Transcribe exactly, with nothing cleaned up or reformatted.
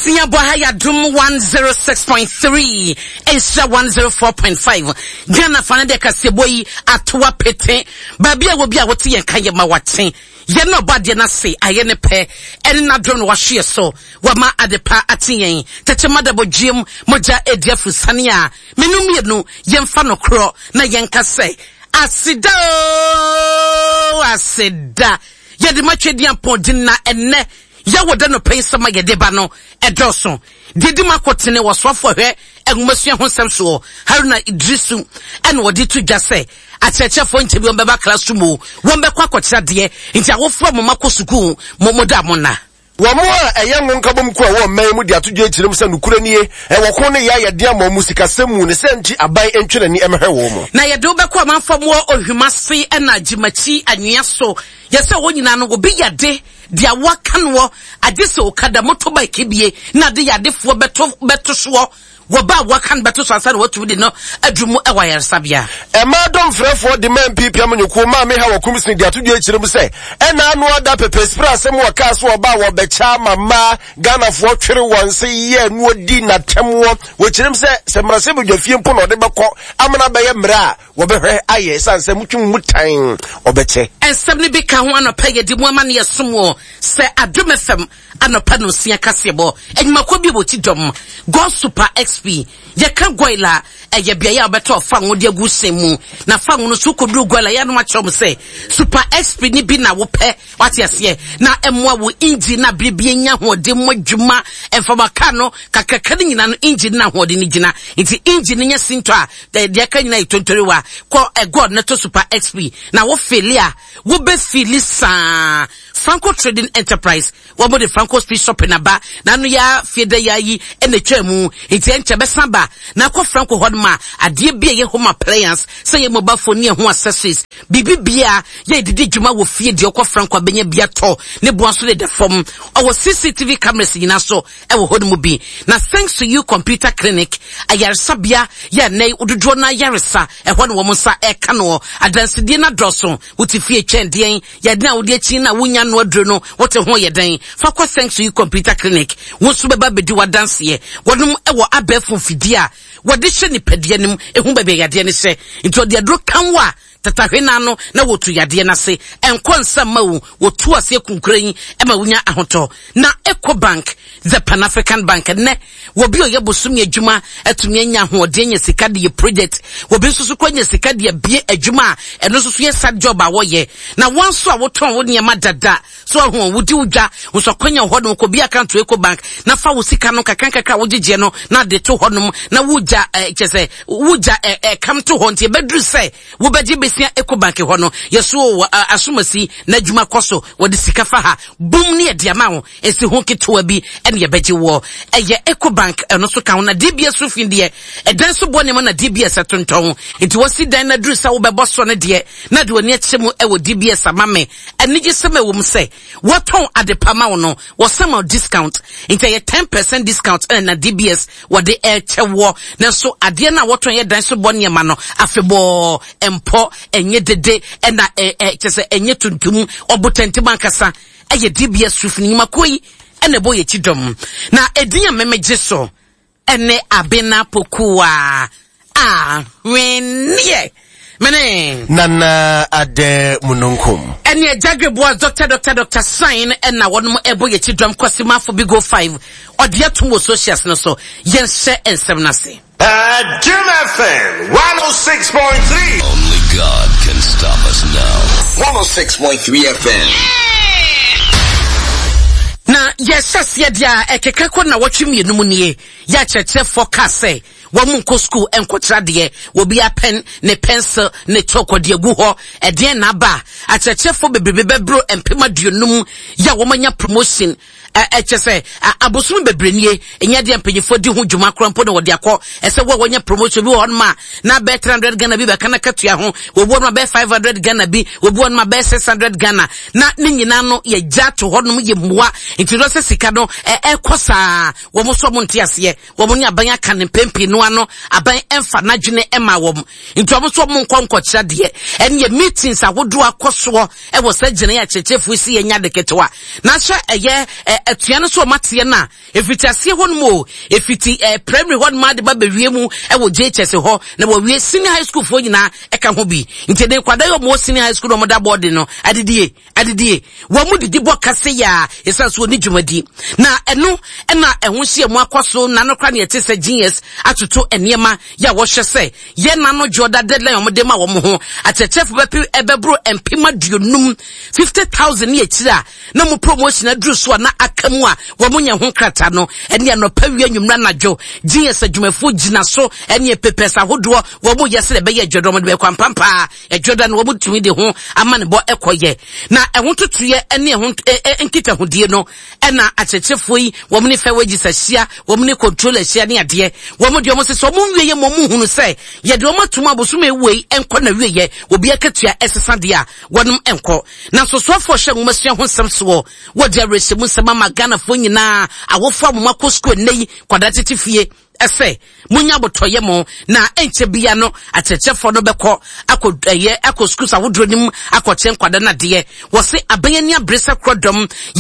Nonsia bɔ ha yɛ Adom one zero six point three, Nhyira one zero four point five. Ghana fa no deɛ kaseɛbɔ yi ato apete. Baabi a wɔ bi a wote yɛn ka yɛ ma wakye. Yɛn na ɔbɔ adeɛ no ase ayɛ ne pɛ. Ɛne n'adom na wahwe yɛ so. Wama adepa ate yɛn. Tɛkyɛ ma dabɔ dwiem mogya edi afusane a menu mmienu yɛmfa no korɔ na yɛnka sɛ aseda o aseda. Yɛde matwe di apɔn na ɛnɛ yɛwɔ da no pɛn sɛm a yɛde ba no ɛdɔɔso. Deɛ di mu akɔtene wɔ soafoɔ hwɛ nwomasua ho nsɛm soɔ Haruna Idrisu ɛna wɔde to dwa sɛ akyerɛkyerɛfoɔ nkyɛn bi wɔn bɛba classroom o wɔn bɛkɔ akɔkyerɛ adeɛ nti awofoɔ a mo ma kɔ sukuu mo mo da mo na. Wɔn a ɛyɛ ngo nkabom ko a ɛwɔ ɔman mu de ato dwa akyerɛ mu sɛ nokorɛ nie, ɛwɔ ko ne yɛ ayɛde ama ɔmo sikasɛm mu ne sɛ nti aban ntwe n'ani ɛmɛhwɛ wɔn mu. Na yɛde wobɛkɔ amanfoɔ mu wɔ Ohwimase ɛna Gyimakyi anwea so yɛsɛ wɔn nyinaa no obi yade deɛ waka noɔ agye sɛ okada motorbike bie na ade yadefoɔ bɛto bɛto soɔ wɔba a waka no bɛto so ansa na watumi de no aduru mu ɛwɔ ayaresabea. Ɛmaa dɔmfrɛfoɔ de ma N P P amanyɔkuo maame ha wɔ Kumsini de ato dwa akyerɛ mu sɛ ɛna ano ada pɛpɛsipere asɛm wɔ kaa so ɔba a wɔbɛkyɛ ama mmaa Ghanafoɔ twere wɔn se yɛ no di n'atɛmoɔ. Wɔkyerɛ mu sɛ sɛ mmarahyɛbadwa fie mpo na ɔde bɛkɔ amena bɛyɛ mmerɛ a wɔbɛhwɛ ayɛ ɛsiane sɛ mutwe mu tan ɔbɛkyɛ. Nsɛm no bi ka ho anɔpa yɛde mu ama ne yɛsom wɔ sɛ Adom F M anɔpa no nsia kaseɛbɔ adwumakuo bi wɔ ti dɔm God Super X P yɛka Goil a ɛyɛ beaeɛ a wobɛtɔ fango de agu hyɛn mu na fango no so kɔduru Goil a yɛanom akyerɛ m sɛ Super X P ne bi na wopɛ wate aseɛ na ɛmmoa wo engine na bere bi anya ahoɔden mu adwuma ɛmfama car no kakraka no nyinaa no engine na ahoɔden no gyina nti engine no nya sintɔ a deɛ aka nyinaa yɛ tontoriwa kɔ ɛgod no to Super X P na wo fill a wobɛfill saa. Franco Trading Enterprise wɔn de Franco Speed Shopping aba n'ano ya fie da ya yi ɛna etwa mu nti ɛnkyɛ bɛsan ba na akɔ Franco hɔ nom a adeɛ bi a ɛyɛ home appliance sɛ yɛ mobile phone ne ɛho accessories biribi bia yɛ didi dwuma wɔ fie deɛ ɔkɔ Franco abɛnya bi atɔ ne boa nso de da fam. Ɔwɔ C C T V cameras nyinaa so ɛwɔ hɔ nom bi. Na Thanks to You Computer Clinic ayaresabea yɛ ɛnɛ dodoɔ no ayaresa ɛhɔ ne wɔn nsa ɛka no adansidie no adɔɔso. Wote fie twɛn deɛn yɛde a wode akyi na wonya no aduro no wote ho yɛ dɛn fa kɔ Thanks to You Computer Clinic. Wo nso bɛba bɛdi w'adanseɛ. Wɔnom ɛwɔ abɛɛfo mfidie a wɔde hyɛ nipadua no mu ehu baabi a yadeɛ no hyɛ nti ɔde aduro kan wo a tatahwe n'ano na wɔtu yadeɛ n'ase ɛnkɔ nsa ma wo wɔtu aseɛ kunkura yi ɛma wonya ahotɔ. Na Eco Bank, the Pan African Bank, nnɛ wɔbi a ɔyɛ bosomi adwuma atumi anya ahoɔden anya sika de yɛ project. Wɔbi nso so kɔ anya sika de abie adwuma a ɛno nso so yɛ side job a wɔyɛ. Na wɔn nso a wɔtɔn wo nneɛma dada so ahu wodi wo dwa nso akɔnya hɔ nom kɔ bi account Eco Bank na fa wo sika no kakra kakra a wogyegyeɛ no na de to hɔ nom na wogya ɛɛ kyɛ sɛ wogya ɛɛ ɛkam to hɔ nti ɛbɛduru sɛ wobɛgye besia Eco Bank hɔ no yɛso wɔ asomasi na adwuma kɔ so wɔde sika fa ha bum ne yɛde ama wo esi ho ketewa bi ɛne yɛbɛgye wɔ ɛyɛ Eco Bank. Ɛno so ka ho na D B S roofing deɛ ɛdan so bɔ nneɛma na D B S ɛtontɔn nti wɔsi dan na duru sɛ wobɛbɔ so no deɛ na de w'ani akyerɛ mu ɛwɔ D B S ama me anigye sɛm ɛwɔ mu sɛ wɔtɔn adepa ma wo no wɔsɛm ma discount nti ɛyɛ ten percent discount ɛna na D B S wɔde ɛkyɛ wɔ. Nanso adeɛ no a wɔtɔn yɛ dan so bɔ nneɛma no afebɔɔ mpɔ ɛnyɛ dede ɛna ɛ ɛ kyɛ sɛ ɛnyɛ tuntum ɔbotantim ankasa ɛyɛ D B S roof ne nnwumakuo yi ɛna ɛbɔ yɛ akyi dɔm. Na edin a mɛmɛgye so ɛne Abena Pokuwa Ahweneɛ mene Nana Adɛ Mununkum. Ɛne Agyagre Boas Doctor Doctor Doctor Sign ɛna wɔnom ɛbɔ yɛ akyi dɔm. Kɔsimafo Bigo Five ɔde atom wɔ socials no so. Yɛnhyɛ nsɛm no ase. Adom F M one oh six point three. Only God can stop us now. one oh six point three F M. Na yɛhyɛ aseɛ deɛ a ɛkeka kɔ na wɔtwe mmienu mu nie yɛ akyerɛkyerɛfoɔ kaa sɛ wɔn mu nkɔ sukuu nkɔkyerɛ adeɛ wɔbi apɛn ne pencil ne chalk ɔde agu hɔ ɛdeɛn na aba akyerɛkyerɛfoɔ bebrebe bɛboro mpem aduonum yɛ a wɔn anya promotion ɛkyɛ sɛ abosom bebree nie ɛnyɛ deɛ mpanyinfoɔ di ho dwuma koraa mpo na wɔde akɔ ɛsɛ wo a wɔnya promotion bi wɔ hɔnom a na bɛyɛ three hundred Ghana bi bɛka na katua ho wɔbi wɔnom a bɛyɛ five hundred Ghana bi wɔbi wɔnom a bɛyɛ six hundred Ghana na ne nyinaa no yɛgya to hɔnom yɛ mmoa nti no sɛ sika no ɛkɔ saa wɔn nso wɔn nte aseɛ wɔn ne aban aka ne mpɛn pii no. ɛno ano aban ɛmfa n'adwene ɛma wɔn, nti wɔn nso wɔn nkɔ nkɔkyerɛ deɛ. Ɛne meetings ahodoɔ akɔ soɔ ɛwɔ sɛ gyina akyerɛkyerɛfoɔ si yɛ nya de ketewa na ahyɛ ɛyɛ atua no so. Ɔmo ateɛ no a efiti aseɛ hɔ nom o, efiti ɛɛ primary hɔ nom ade ba bɛwie mu ɛwɔ J H S hɔ na wɔwie senior high school foɔ nyinaa ɛka ho bi. Nti de nkwadaa yi, ɔmo wɔ senior high school na ɔmo da boarding no, adidie adidie wɔn mu didi bɔ kase yaa esan so oni dwumadi na ɛno ɛna ɛho hyia mu akɔ so. Nano kora ne yɛte sɛ G E S atoto nneɛma yɛ a wɔhwɛ sɛ yɛn nano dwoɔda deadline wɔn de ma wɔn ho akyerɛkyerɛfo bɛpe ɛbɛboro mpem aduonum, fifty thousand ne akyire a na mo promotion aduru so a na aka mu a wɔn nyɛ ho nkrataa no. Ɛne anɔpa, wia, nwumra, anadwo G E S adwumafoɔ gyina so ɛne papers ahodoɔ wɔn yɛ sɛ ɛbɛyɛ adwadɔ wɔn de bɛkɔ ampampaa adwadɔ no wɔn tumi de ho ama ne bɔ ɛkɔyɛ na ɛho totoyɛ ɛne ɛho nkitahodie no. Ɛna akyerɛkyerɛfoɔ yi wɔn ne fair wages ahyia, wɔn ne control ahyia ne adeɛ. Wɔn deɛ, wɔn sɛ sɛ wɔn nwie yɛ ma wɔn hunu sɛ yɛde wɔn atum abosom ewu yi nkɔ na wie yɛ obi akatua ɛsesa deɛ a wɔn nkɔ. Na nsosoafoɔ hyɛ nwoma sua ho nsɛm soɔ, wɔde awerɛhyɛmu nsɛm ama Ghanafoɔ nyinaa, awofoɔ a wɔn akɔ sukuu nnɛ yi kwadaa tete fie, ɛsɛ munya abotɔyɛ mo na ɛnkyɛ bia no akyerɛkyerɛfoɔ no bɛkɔ akɔ ɛyɛ akɔ schools ahodoɔ no mu akɔkyerɛ nkwadaa no adeɛ. Wɔse aban ani abere sɛ korɔ dɔm.